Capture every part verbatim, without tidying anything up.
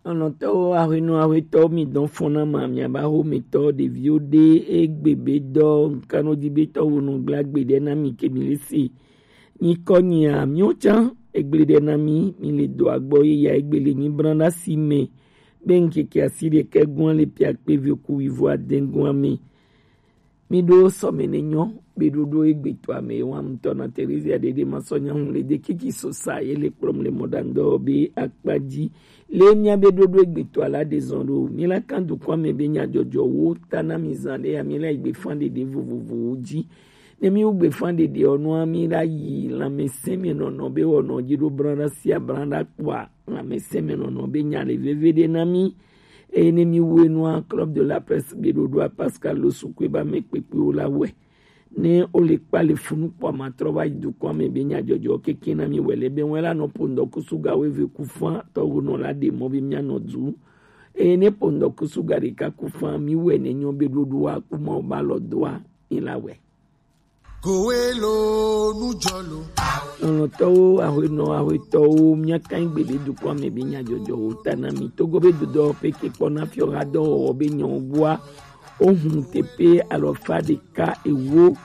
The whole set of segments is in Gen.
Lɔlɔ̃tɔwo, aƒenɔ, aƒetɔwo, mi dɔn fɔn na ma, miaba xo mi tɔ ɖeviwo ɖe egbe be dɔ nkanodi be tɔwo nɔ gblagbe ɖe na mi ke mi le se. Nyikɔ nyia, miwo can egble ɖe na mi, mi le do agbɔ ye ya egbe le nyi bran na si me be nkeke asi ɖe ke gɔn le pia kpe ve ku wivo aden gɔn me. Mi ɖo sɔme ne nyɔ be ɖoɖo egbe to ame wa ŋutɔ na Terezia ɖeɖe ma sɔ nya ŋu le de kiki sosa ye le kplɔm le mɔɖaŋdɔ be akpa dzi. Le mia be ɖoɖo egbe to ala de zɔn ɖo, mi la kan dukɔ me be nyadzɔdzɔ wo ta na mi zan ɖe ya mi la egbe fan ɖeɖe vovovowo dzi. Ne mi wo gbe fan ɖeɖe ɔ nua mi la yi lãmesẽ me nɔnɔ be wɔnɔ dzi ɖo bran ɖa sia bran ɖa kpɔa lãmesẽ me nɔnɔ be nya le veve ɖe na mi. Eye ne mi wu enua, Club de la Presse be ɖoɖoa Pascal Losukue ba me kpekpewo la wɛ. Ne o le kpa le funu kpɔ ma trɔ va yi dukɔ me be nyadzɔdzɔ keke na mi wɛ le be wɛ la nɔ po ŋdɔ kusu ga wɛ ve ku fan tɔ wo nɔ la ɖe mɔ be mia nɔ du. Eye ne po ŋdɔ kusu ga ɖeka ku fan mi wɛ ne nyɔ be ɖoɖoa ku ma o ba lɔ doa mi la wɛ. Kowelo nujɔlo. Lɔlɔ̃tɔwo, aƒenɔ, aƒetɔwo, mia kan gbe be dukɔ me be nyadzɔdzɔ wo ta na mi. Togo be dodɔ pe ke kpɔ na fiɔ ha dɔwɔwɔ be nyɔ gbua. O hun te pe alɔfa ɖeka ewo.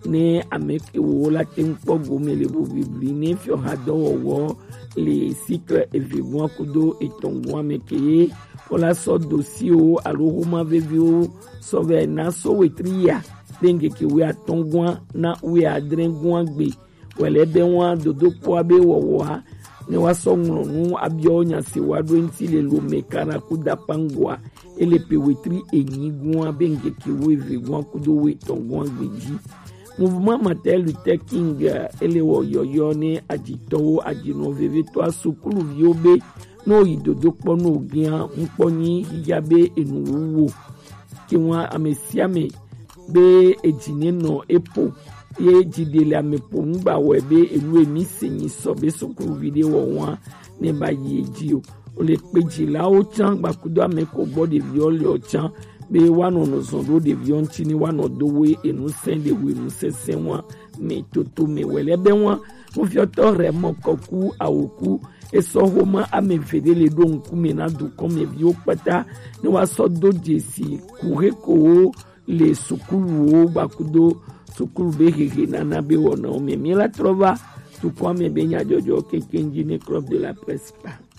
Ne ame ke wo la te ŋkpɔ gome le bobibli ne fiɔ ha dɔwɔwɔ le sikle eve gua kudo etɔn gua me ke ye. Ko la sɔ dosiwo alo homa veviwo sɔ vɛ na so wetri ya. Be ŋkeke wuiatɔ̃ gɔ̃a na wuiadre gɔ̃a gbe wɛlɛ be wa dodokpɔa be wɔwɔa ne wa sɔ ŋlɔ nu abiɔ nya si wa ɖo ŋti le lome kana ku dapangoa ele pe wetri enyi gɔ̃a be ŋkeke wuieve gɔ̃a kudo wuietɔ̃ gɔ̃a gbe dzi. Mouvement Martin Luther King ele wɔ yɔyɔ ne adzitɔwo, adzinɔ vevetɔa sukuluviwo be ne woyi dodokpɔ ne wogea ŋkpɔ nyi xixia be enu wowo. Ke ŋua ame sia ame be edzi ne nɔ epo ye dzi ɖe le ame po ŋgba wɔe be enu emi se nyi sɔ be sukuluvi ɖe wɔ ŋua ne ba yi edzi o. Wole kpe dzilawo tsã gbakudo ame ko gbɔ ɖeviwo le ɔ tsã be woanɔ nɔ zɔn ɖo ɖeviwo ŋuti ne woanɔ do wo enu sɛn ɖe wo enu sɛsɛ ŋua me toto me wɛlɛ be ŋua nufiɔtɔ rɛ mɔ kɔku awoku esɔ homa ame eve ɖe le ɖo ŋkume na dukɔmeviwo kpata ne woasɔ do dzesi kuxekowo le sukuluwo gbakudo sukulu be hehe nana be wɔnawo me. Mi la trɔ va dukɔa me be nyadzɔdzɔ kekeŋ dzi ne Club de la Presse kpa.